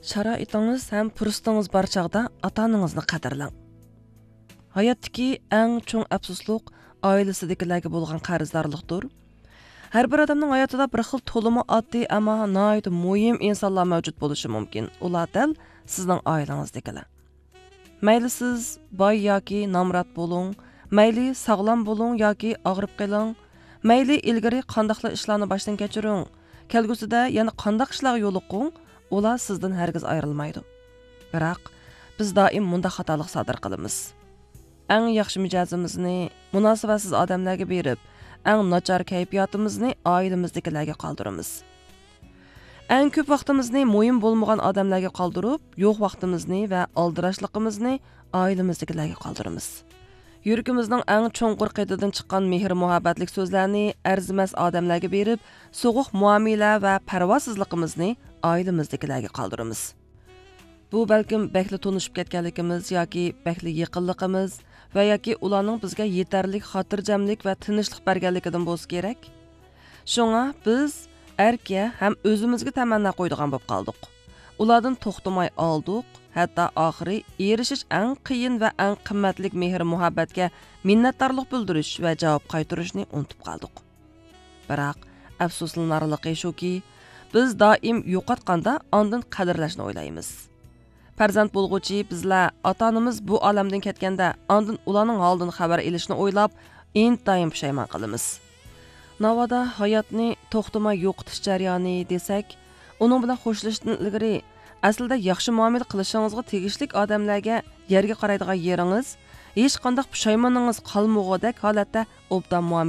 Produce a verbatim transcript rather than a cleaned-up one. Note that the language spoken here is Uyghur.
شارائىتىڭىز ھەم پۇرسىتىڭىز بار چاغدا ئاتا-ئانىڭىزنى قەدىرلەڭ. ھاياتتىكى ئەڭ چوڭ ئەپسۇسلۇق ئائىلىسىدىكىلەرگە بولغان قەرزدارلىقتۇر. ھەر بىر ئادەمنىڭ ھاياتىدا بىر خىل تولىمۇ ئاددىي، ئەمما ناھايىتى مۇھىم ئىنسانلار مەۋجۇت بولۇشى مۇمكىن. ئۇلار دەل سىزنىڭ ئائىلىڭىزدىكىلەر. مەيلى سىز باي ياكى نامرات بولۇڭ، مەيلى ساغلام بولۇڭ ياكى ئاغرىپ قېلىڭ، مەيلى ئىلگىرى قانداقلا ئىشلارنى باشتىن كەچۈرۈڭ، كەلگۈسىدە يەنە قانداق ئىشلارغا يولۇقۇڭ، ئۇلار سىزدىن ھەرگىز ئايرىلمايدۇ. بىراق، بىز دائىم مۇنداق خاتالىق سادىر قىلىمىز. ئەڭ ياخشى مىجەزىمىزنى مۇناسىۋەتسىز ئادەملەرگە بېرىپ، ئەڭ ناچار كەيپىياتىمىزنى ئائىلىمىزدىكىلەرگە قالدۇرىمىز. ئەڭ كۆپ ۋاقتىمىزنى مۇھىم بولمىغان ئادەملەرگە قالدۇرۇپ، يوق ۋاقتىمىزنى ۋە ئالدىراشلىقىمىزنى ئائىلىمىزدىكىلەرگە قالدۇرىمىز. يۈرىكىمىزنىڭ ئەڭ چوڭقۇر قېتىدىن چىققان مېھىر-مۇھەببەتلىك سۆزلەرنى ئەرزىمەس ئادەملەرگە بېرىپ، سوغۇق مۇئامىلە ۋە پەرۋاسىزلىقىمىزنى ئائىلىمىزدىكىلەرگە قالدۇرىمىز. بۇ بەلكىم بەكلا تونۇشۇپ كەتكەنلىكىمىز ياكى بەكلا يېقىنلىقىمىز ۋە ياكى ئۇلارنىڭ بىزگە يېتەرلىك خاتىرجەملىك ۋە تىنچلىق بەرگەنلىكىدىن بولسا كېرەك. شۇڭا بىز ئەركە ھەم ئۆزىمىزگە تەمەننا قويىدىغان بولۇپ قالدۇق. ئۇلاردىن توختىماي ئالدۇق، ھەتتا ئاخىرى ئېرىشىش ئەڭ قىيىن ۋە ئەڭ قىممەتلىك مېھىر-مۇھەببەتكە مىننەتدارلىق بىلدۈرۈش ۋە جاۋاب قايتۇرۇشنى ئۇنتۇپ قالدۇق. بىراق، ئەپسۇسلىنارلىقى شۇكى، بىز دائىم يوقاتقاندا ئاندىن قەدىرلەشنى ئويلايمىز. پەرزەنت بولغۇچى بىزلەر ئاتا-ئانىمىز بۇ ئالەمدىن كەتكەندە، ئاندىن ئۇلارنىڭ ھالىدىن خەۋەر ئېلىشنى ئويلاپ، ئىنتايىن پۇشايمان قىلىمىز. ناۋادا ھاياتنى توختىماي يوقىتىش جەريانى دېسەك، ئۇنىڭ بىلەن خوشلىشىشتىن ئىلگىرى، ئەسلىدە ياخشى مۇئامىلە قىلىشىڭىزغا تېگىشلىك ئادەملەرگە يەرگە قارايدىغان يېرىڭىز ھېچقانداق پۇشايمىنىڭىز قالمىغۇدەك ھالەتتە ئوبدان مۇئامىلە